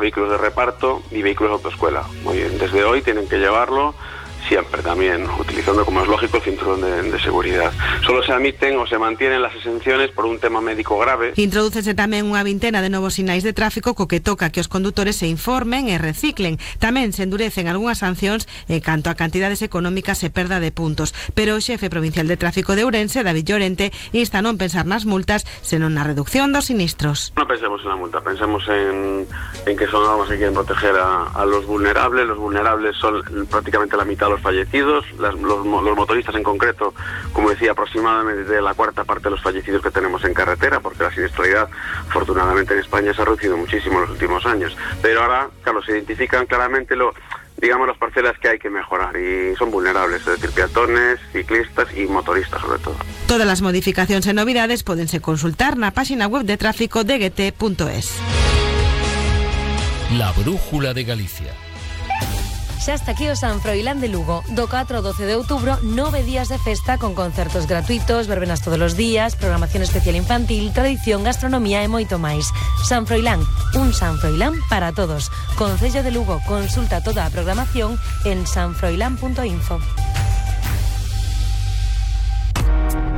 vehículos de reparto y vehículos de autoescuela. Muy bien, desde hoy tienen que llevarlo siempre también, utilizando, como es lógico, el cinturón de seguridad. Solo se admiten o se mantienen las exenciones por un tema médico grave. Introdúcese tamén unha vintena de novos sinais de tráfico co que toca que os condutores se informen e reciclen. Tamén se endurecen algunhas sancións en canto a cantidades económicas e perda de puntos. Pero o xefe provincial de tráfico de Ourense, David Llorente, insta a non pensar nas multas, senón na reducción dos sinistros. No pensemos en la multa, pensemos en que son normas que quieren proteger a los vulnerables. Los vulnerables son prácticamente la mitad de los fallecidos, los motoristas en concreto, como decía, aproximadamente de la cuarta parte de los fallecidos que tenemos en carretera, porque la siniestralidad, afortunadamente en España, se ha reducido muchísimo en los últimos años. Pero ahora, claro, se identifican claramente las parcelas que hay que mejorar y son vulnerables, es decir, peatones, ciclistas y motoristas sobre todo. Todas las modificacións e novidades pódense consultar na página web de tráfico de gt.es. La Brújula de Galicia. Xa está aquí o San Froilán de Lugo. Do 4 ao 12 de outubro, 9 días de festa con concertos gratuitos, verbenas todos os días, programación especial infantil, tradición, gastronomía e moito máis. San Froilán, un San Froilán para todos. Concello de Lugo, consulta toda a programación en sanfroilán.info.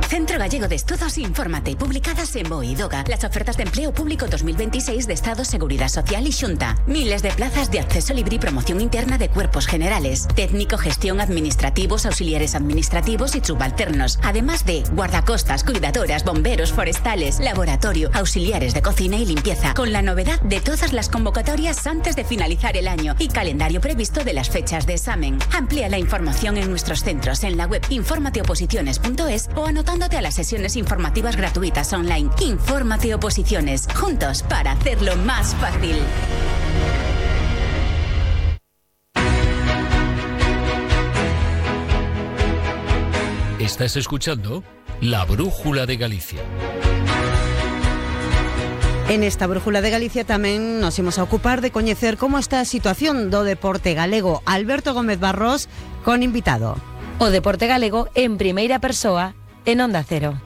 Centro Gallego de Estudos, infórmate, publicadas en BOE y DOGA. Las ofertas de empleo público 2026 de Estado, Seguridad Social y Xunta. Miles de plazas de acceso libre y promoción interna de cuerpos generales. Técnico, gestión, administrativos, auxiliares administrativos y subalternos. Además de guardacostas, cuidadoras, bomberos, forestales, laboratorio, auxiliares de cocina y limpieza. Con la novedad de todas las convocatorias antes de finalizar el año y calendario previsto de las fechas de examen. Amplía la información en nuestros centros en la web informateoposiciones.es o anotándote a las sesiones informativas gratuitas online. Infórmate Oposiciones, juntos para hacerlo más fácil. Estás escuchando La Brújula de Galicia. En esta Brújula de Galicia tamén nos imos a ocupar de coñecer como está a situación do deporte galego. Alberto Gómez Barros, con invitado. O deporte galego en primeira persoa en Onda Cero.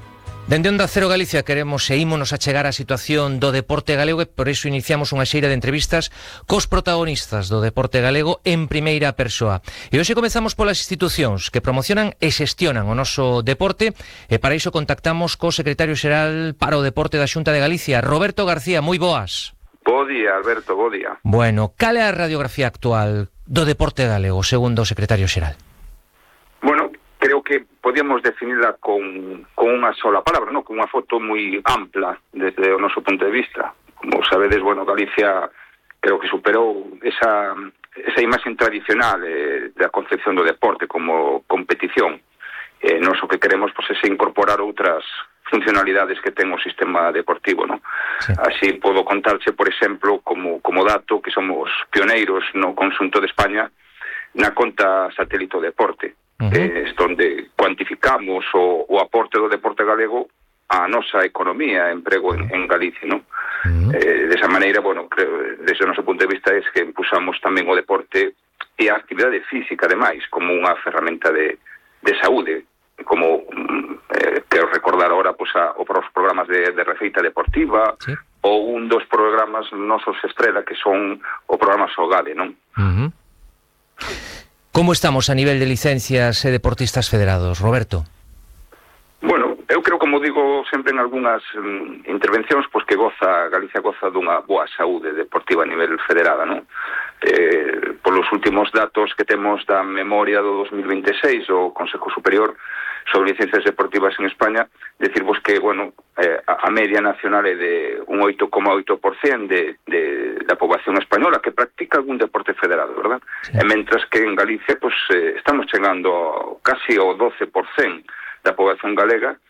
Dende Onda Cero Galicia queremos e ímonos a chegar á situación do deporte galego e por iso iniciamos unha xeira de entrevistas cos protagonistas do deporte galego en primeira persoa. E hoxe comezamos polas institucións que promocionan e xestionan o noso deporte e para iso contactamos co secretario xeral para o deporte da Xunta de Galicia, Roberto García. Moi boas. Bo día, Alberto, bo día. Bueno, cal é a radiografía actual do deporte galego, segundo o secretario xeral? Bueno, creo que podíamos definirla con unha sola palabra, ¿no? Con unha foto moi ampla desde o noso punto de vista. Como sabedes, bueno, Galicia creo que superou esa imaxe tradicional da concepción do deporte como competición. Nós o que queremos é incorporar outras funcionalidades que ten o sistema deportivo, ¿no? Sí. Así podo contarche, por exemplo, como dato que somos pioneiros no conxunto de España na conta satélite do deporte. Onde cuantificamos o aporte do deporte galego á nosa economía, emprego en Galicia, ¿no? Desa maneira, bueno, creo, desde o noso punto de vista é que impulsamos tamén o deporte e a actividade física, ademais, como unha ferramenta de saúde, como quero recordar ahora os programas de receita deportiva, sí, ou un dos programas nosos estrela que son o programa Sogade, non? Como estamos a nivel de licencias e deportistas federados, Roberto? Bueno, eu creo, como digo sempre en algunhas intervencións, pois que Galicia goza dunha boa saúde deportiva a nivel federada, non? Polos últimos datos que temos da memoria do 2026 o Consejo Superior sobre licencias deportivas en España, decirvos que, bueno, a media nacional é de un 8,8% da poboación española que practica algún deporte federado, verdad? Sí. E mentras que en Galicia, pues, estamos chegando casi ao 12% da poboación galega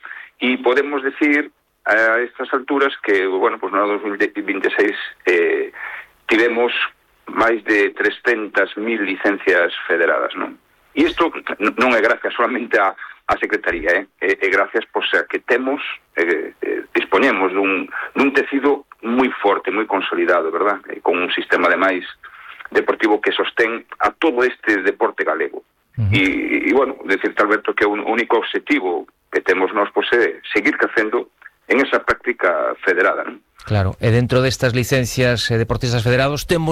e podemos decir a estas alturas que, bueno, pues no 2026 tivemos máis de 300.000 licencias federadas, non? E isto non é gracias solamente a Secretaría, é gracias pois, a que temos, dispoñemos dun tecido moi forte, moi consolidado, verdad? Con un sistema, ademais, deportivo que sostén a todo este deporte galego. E bueno, decirte, Alberto, que o único objetivo que temos nós pois, é seguir crecendo en esa práctica federada, non? Claro, e dentro destas licencias deportistas federados temos